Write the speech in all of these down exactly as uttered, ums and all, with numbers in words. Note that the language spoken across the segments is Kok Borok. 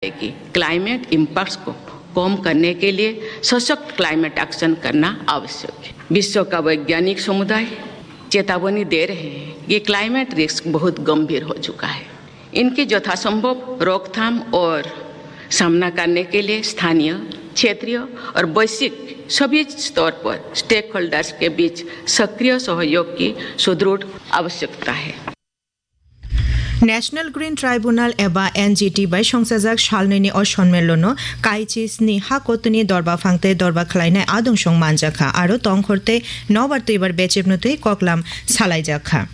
है कि climate impacts को कम करने के लिए सशक्त क्लाइमेट एक्शन करना आवश्यक है। विश्व का वैज्ञानिक समुदाय चेतावनी दे रहे हैं कि क्लाइमेट रिस्क बहुत गंभीर हो चुका है। इनकी यथासंभव रोकथाम और सामना करने के लिए स्थानीय, क्षेत्रीय और वैश्विक सभी स्तर पर स्टेकहोल्डर्स के बीच सक्रिय सहयोग की सुदृढ़ आवश्यकता है। National Green Tribunal eba N G T bai songchajak salnwini o sonmellono kaichi sni ha kotuni dorba phang tei dorba khlainai adungsong manjakha, aro tongkhor tei nobar twibar bechepnw twi koklam salaijakha.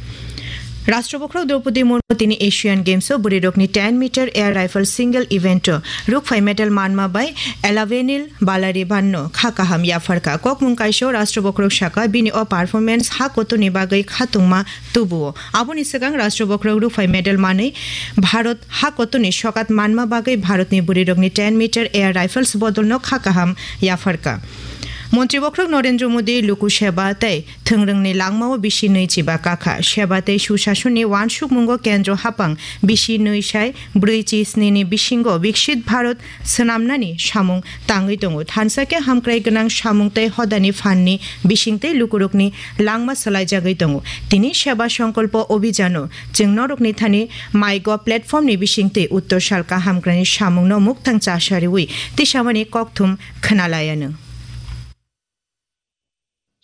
Rashtra Bokhorok Droupadi Murmu tini Asian Games o bwrwirokni ten meter air rifle single event o rukphai medal manma bai Alavenil Balariban no kha kaham yapharkha. Kokmung kaisa o Rashtra Bokhorok saka bini o performance ha kotuni bagwi khatungma tubuo. Aboni swkang Rashtra Bokhorok rukphai medal manwi Bharat ha kotuni sokat manma bagwi Bharatni bwrwirokni ten meter air rifles bodolno kha kaham yapharkha. Montri Bokhorok Narendra Modi Luku Seba tei thwngrwngni langmao bisi nwi chiba kakha. Seba tei Sushasonni uansukmungo kendro hapang bisi nwi sai brwi chi snini bisingo Viksit Bharat swnamnani samung tangwi tongo. Thansa khe hamkrai gwnang samung tei hodani phanni bisingtwi lukurokni langma swlaijagwi tongo. Tini Seba Songkolpo Obhijano chwng norokni thani MyGov platformni bisingtwi Uttor Salka hamkraini samungno muktang chasariwi tisamani kokthum khwnalaianw.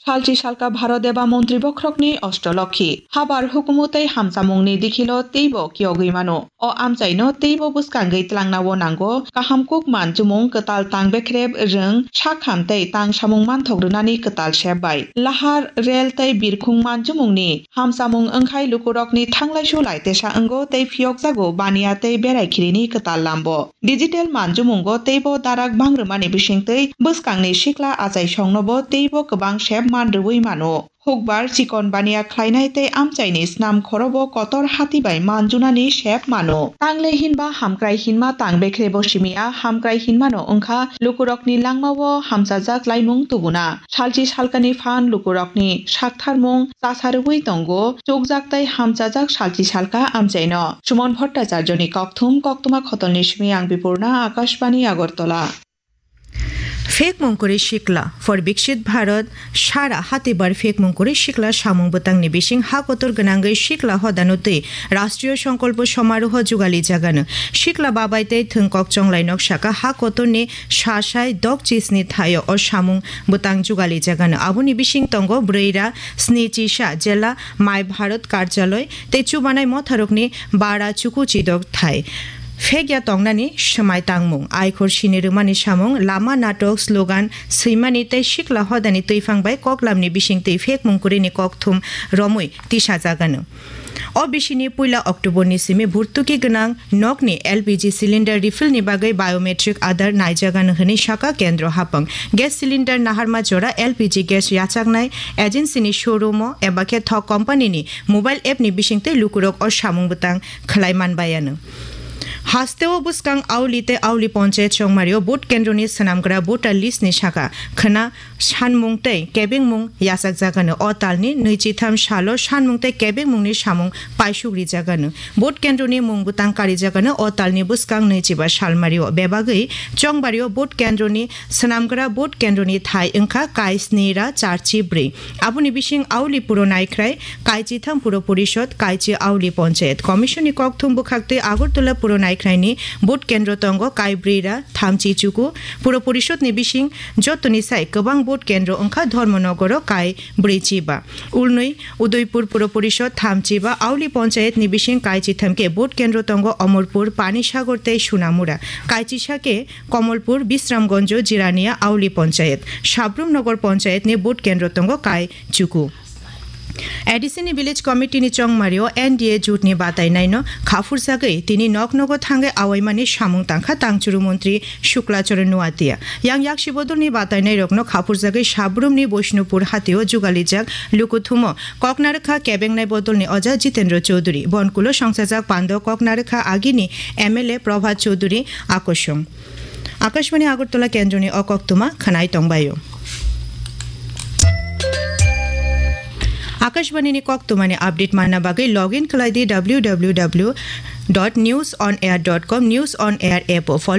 Salchi salka Bharat eba montri bokhorokni Ostolokhi. Habar hukumu tei hamchamungni dikhilo teibo kiyogwi mano. O amchaino teibo bwskangwi tlangnao nango. Kaham kuk manchumung, kwtal tang bekrep rwng, sakham tei tang samung manthok rwnani kwtal sep bai. Lahar, rel tei birkhung manchumungni hamchamung wngkhai lukurokni thanglaisu laitesa wngo tei phiyokjago baniya tei berai khirini kwtal lambo. Digital manjumungo teibo darak bangrwmani bisingtwi bwskangni sikla achaisongnobo teibo kwbang sep manrwui mano. Hukbar chikon baniya khlainai tei amchaini snam khorobo kotor hati bai manjunani sep mano. Tangle hinba hamkrai hinma tang bekrebo simiya, hamkrai hinmano wngkha lukurokni langmao hamchajak laimung tubuna. Salchi salkani phan lukurokni saktharmung chasarwi tongo, chukjak tei hamchajak salchi salka amchaino. Sumon Bhattacharjoni kokthum, koktwma khotolni simi ang Bipurna, Akashbani Agartala. Phek mungkuri sikla for Biksit Bharat, sara hatibar phek mungkuri sikla samung bwtangni bising ha kotor gwnangwi sikla hodano twi Rashtriyo Songkolpo Somaroho jugali jagano. Sikla babai tei thwngkok chonglai nok saka ha kotorni sasai dok chisni thaio o samung bwtang jugali jagano. Aboni bising tongo Bwrwira, Sni Chisa, Jela Mai Bharat Karjaloi tei chubanai motharokni bara chuku chidok thai. Phekya tongnani swmai tangmung, aikhor sini rwmani samung, lama natok, slogan swimani tei sikla hodani twiphang bai koklamni bising twi phek mungkurini kokthum romwi tisajagano. O bisini puila October ni simi bhurtuki gwnang nokni L P G cylinder refill ni bagwi biometric Aadhaar naijagano hwnwi saka kendro hapang. Gas cylinder naharma jora L P G gas yachaknai agency ni showroom o eba khe thok company ni mobile app ni bisingtwi lukurok o samung bwtang khlai manbayano. Hasteo bwskang Auli tei Auli Ponchayat Chongmario vote kendroni swnamgra voter list ni saka khwna sanmung tei kebengmung yachakjagano. O talni nwichitham salo sanmung tei kebengmungni samung paisuk rijagano. Vote kendroni mung bwtang karijagano o talni bwskang nwichiba salmario. Bebagwi Chongbario vote kendroni swnamgra vote kendroni thai wngkha kai sni ra charchi bwrwi. Aboni bising Auli Puro Naikhrai, kai chitham Puro Porishod, kai chi Auli Ponchayat. Commission ni kokthum bwkhaktwi Agartala Puro Naikhraini vote kendro tongo kai bwrwi ra thamchi chuku. Puro Porishod ni bising jotoni sai kwbang vote kendro wngkha Dharmanagar o kai bwrwi chiba. Ulnwi Udaipur Puro Porishod thamchi ba Auli Ponchayat ni bising kai chitham khe vote kendro tongo Omorpur, Panisagar tei Sunamura. Kai chisa khe Komolpur, Bisramganj, Jirania, Auli Ponchayat, Sabrum Nagar Ponchayat ni vote kendro tongo kai chuku. A D C ni Village Committee ni chongmario N D A jut ni batai naino khaphurjagwi tini nok nogo thangwi awaimani samung tangkha tangchuru montri Shukla Charan Noatia. Yang yaksi bodol ni batai nai rokno khaphurjagwi Sabrum ni Boishnupur hatio jugalijak lukuthumo koknarwkha kebengnai bodol ni oja Jitendra Chaudhuri. Bonkulo songchajak pando koknarwkha agini M L A Prabhat Chaudhuri akosong. Akashbani Agartala kendroni o koktwma khwnai tongbaio. Akashbani ni koktwmani update manna bagwi log in khlai di W W W dot news on air dot com, News on Air app o follow